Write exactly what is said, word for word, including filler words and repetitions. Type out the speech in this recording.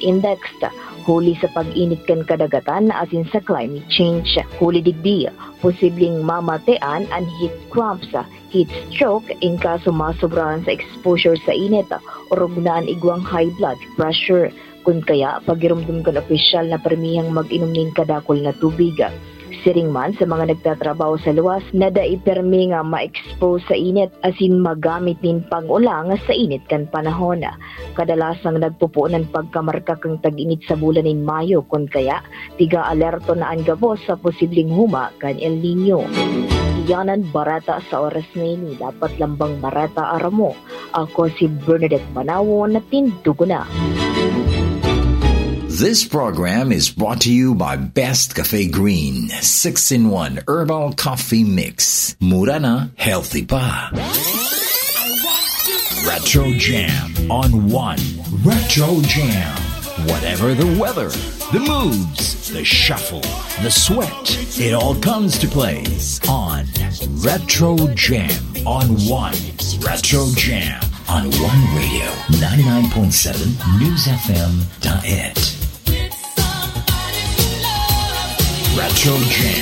Index, huli sa pag-init kan kadagatan asin sa climate change. Huli digdi, posibleng mamatean an heat cramps, heat stroke, in kaso masobrahan sa exposure sa init, orog na an igwang high blood pressure. Kun kaya, pagiromdom kan opisyal na permihang mag-inom nin kadakul na tubig. Siring man sa mga nagtatrabaho sa luwas na dai permi nga ma-expose sa init asin magamit nin pang-ulang sa init kan panahon. Kadalasang nagpupuon an pagkamarka kan tag-init sa bulan nin Mayo, kun kaya, piga-alerto na an gabos sa posibleng huma kan El Niño. Iyan an bareta sa oras na ini. Dapat lambang bareta aram mo. Ako si Bernadette Banawon na tindugo na. This program is brought to you by Best Cafe Green six-in-one Herbal Coffee Mix. Mura na, healthy pa. Retro Jam on One. Retro Jam. Whatever the weather, the moods, the shuffle, the sweat, it all comes to play on Retro Jam on One. Retro Jam on One Radio, ninety-nine point seven News F M Daet. Retro Jam.